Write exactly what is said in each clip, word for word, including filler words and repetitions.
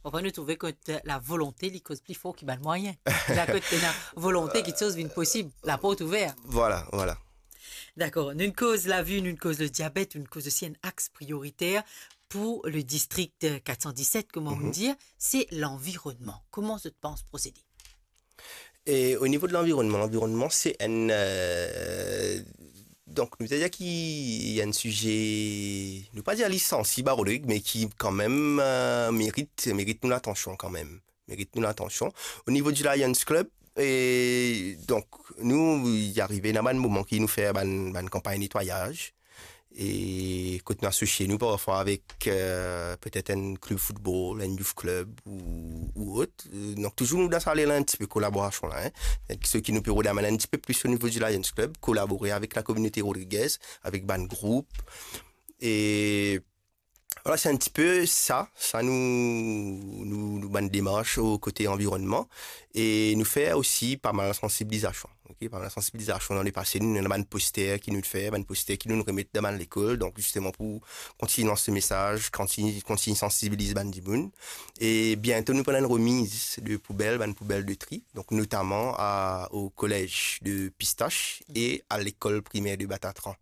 Parfwa nou trouve kot lavolonte, li koz pli for ki bann mwayin. La kot ena volonte, kiksoz vinn posib, laport ouver. Vwala, vwala. Dakor, nou koz lavi, nou koz le diabet, nou koz osi enn axe prioriter pou le distrik kat san diset, kouma nou dir, se lanvironnman. Kouma zot pans prosede? E o nivo de lanvironnman, lanvironnman, se enn, eh, donk, nou pe dir ki enn size, nou pa dir li sansib a Rodrig, me ki kanmem, eh, merit, merit nou latansion kanmem. Merit nou latansion. O nivo di Lions Club, e donk, nou, li arive ena bann moman ki nou fer bann, bann kanpagn netwayaz. E kot nou asosie nou parfwa avek, eh, petet enn klub foutbol, enn youth club ou, ou ot. Eh, donk, touzour nou dan sa lane la, enn tipe kolaborasion la, en. Seki nou pe rod amenn enn tipe plis o nivo di Lions Club, kolabore avek lakominote rodrigez, avek bann group. E vwala, se enn tipe sa, sa nou, nou, nou bann demars o kote anvironnman. E nou fer osi pa mal sansibilizasion. Ok, pa mal sansibilizasion dan lepase, nou ena bann poster ki nou fer, bann poster ki nou remet dan bann lekol, donk zisteman pou kontign lans mesaz, kontign, kontign sansibiliz bann dimoun. E biento nou pou ena enn remiz de poubel, bann poubel de tri, donk notaman a, o kolez de Pistache e a lekol primer de Batatran.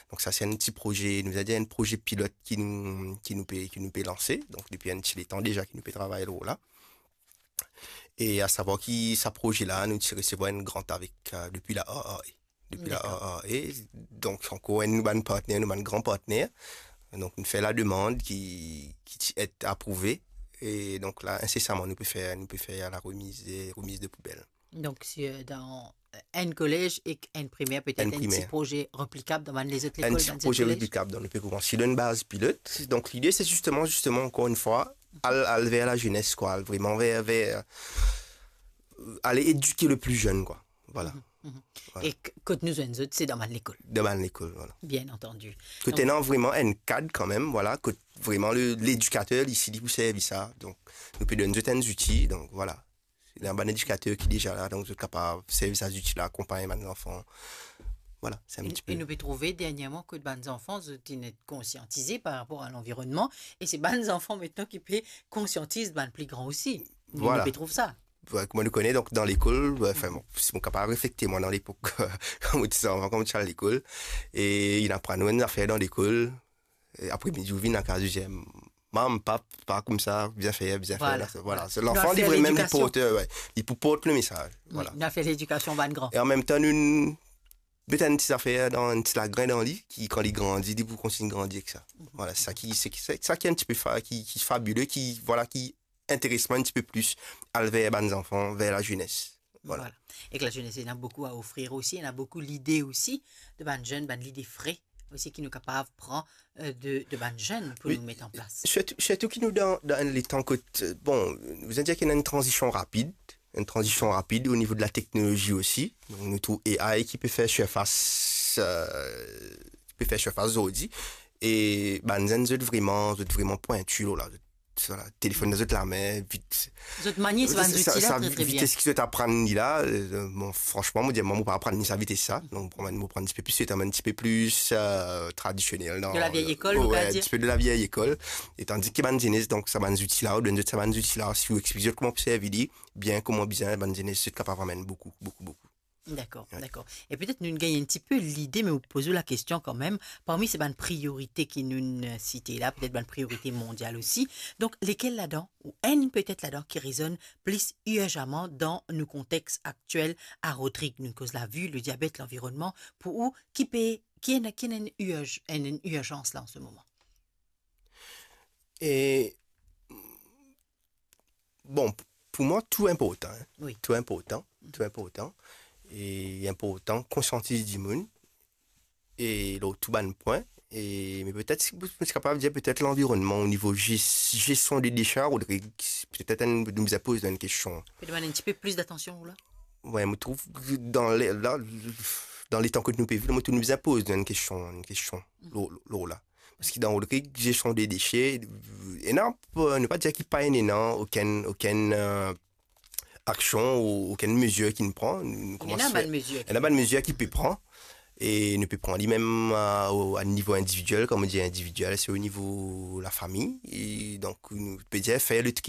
Donk sa se enn ti proze, nou a dir enn proze pilot ki nou, ki nou pe, ki nou pe lanse. Donk depi enn ti letan deza ki nou pe travay lor la. E a savwar ki sa proze la, nou ti resevwar enn grant avek, eh, depi la A A E. Depi la Dakor. A A E. Donk, ankor enn nou bann partner, nou bann gran partner. Donk, nou fer lademann ki, ki ti et aprouve. E donk la, insesaman, nou pe fer, nou pe fer la remiz, eh, remiz de poubel. Donk, si, eh, dan, eh, enn kolez ek enn primer, petet Enn enn ti primer. proze replikab dan bann lezot Enn lekol, ti dan proze zot kolez? replikab, donk nou pe koumans dan enn baz pilot. Donk, lide, se zisteman, zisteman, ankor enn fwa, al, al ver lazenes, kwa, al vreman ver, ver, eh, al edik le pli zenn, kwa. Vwala. Mhm. Vwala. E k-, kot nou zwenn zot, se dan bann lekol. Dan bann lekol, vwala. Bien antandi. Kot Donk ena vreman enn kad kanmem, vwala, kot vreman le, ledikater, li isi, li pou servi sa. Donk, nou pe donn zot enn zouti, donk, vwala. Ena bann edikater ki deza la, donk zot kapav servi sa zouti la, akonpagn bann zanfan. Vwala, se enn E, ti e pe nou pe trouve dernyerman kot bann zanfan, zot inn konsiantize par rapor a lanvironnman, e se bann zanfan aster ki pe konsiantiz bann pli gran osi. Nou, Vwala. nou pe trouv sa. Vwala, kouma nou kone, donk, dan lekol, anfin, bon, si mo kapav reflekte, mwa, dan lepok, kan mo ti zanfan, kan mo ti al lekol, e inn aprann nou enn zafer dan lekol, e apre midi, ou vinn lakaz, ou dir, "Mam, pap, pa koumsa, bizin fer, bizin fer Vwala. la." Vwala. Vwala. Se Nou lanfan, al li fer vremem, li ledikasion. port, we, li pou port le mesaz. Wi, Vwala. nou al fer ledikasion bann gran. E anmemtan, nou met enn ti zafer dan, enn ti lagrin dan li, ki, kan li grandi, li pou kontign grandi ek sa. Mhm. Vwala, sa ki, se ki, se sa ki enn ti pe fa-, ki, ki fabile, ki, vwala, ki interes mwa enn ti pe plis al ver bann zanfan, ver lazenes. Vwala. Vwala. Ek lazenes, ena boukou a ofrir osi, ena boukou lide osi, de bann zenn, bann lide fre osi ki nou kapav pran, eh, de, de bann zenn pou Wi, nou met an plas. sirtou, sirtou ki nou dan, dan enn letan kot, eh, bon, nou dir ki ena enn tranzision rapid, enn tranzision rapid o nivo de lateknolozi osi. Donk, nou trouv A I ki pe fer sirfas, eh, ki pe fer sirfas zordi. E bann zenn, zot vreman, zot vreman pwinti lor la. Zot, vwala, telefonn dan zot lame, vit. Zot manie sa bann Sa, zouti la sa tre, tre bien. vites ki zot aprann li la, eh, bon, fransman, mo dir, mwa, mo pa aprann li sa vites sa. Donk, mo pran, mo pran enn ti pe plis, mo enn ti pe plis, eh, tradisionel, non? De la vieille école, nou Ouais, kapav dir. enn ti pe de la vieille école. E tandis ki bann zenes, donk, sa bann zouti la, ou donn zot sa bann zouti la, si ou explik zot kouma pou servi li, bien kouma bizin, bann zenes, zot kapav amenn boukou, boukou, boukou. Dakor, Ouais. dakor. E petet nou gagn enn ti pe lide, me mo poz ou lakestion kanmem, parmi se bann priorite ki nou, eh, site la, petet bann priorite mondial osi. Donk, lekel ladan, ou enn petet ladan ki rezonn plis irzaman dan nou kontex aktiel a Rodrig, nou koz lavi, le diabet, lanvironnman, pou ou, ki pe, ki ena, ki ena enn irz-, enn, enn irzans la an se moman? E, bon, pou mwa, tou inportan, hein. Wi. Tou inportan, tou inportan. E inportan konsiantiz dimoun. E lor tou bann pwin. E, me petet, si, si kapav dir petet lanvironnman o nivo ges-, gestion de dese, Rodrig, petet enn, nou bizin poz enn kestion. Pe demann enn ti pe plis datansion, ou la? Ouais, mo trouv dan le, la, dan letan kot nou pe viv, mo trouv nou bizin poz enn kestion, enn kestion, Mhm. lor, lor, lor la. Paski dan Rodrig, gestion de dese, ena, nou pa dir ki pa ena okenn, okenn, euh, aksion ou okenn mezir ki nou pran. Nou, nou Ena koumans bann fer, mezir ki ena bann mezir ki pe pran. E nou pe pran li mem, euh, o, a nivo individiel, kouma dir individiel, se o nivo lafami. E donk, nou pe dir fer le tri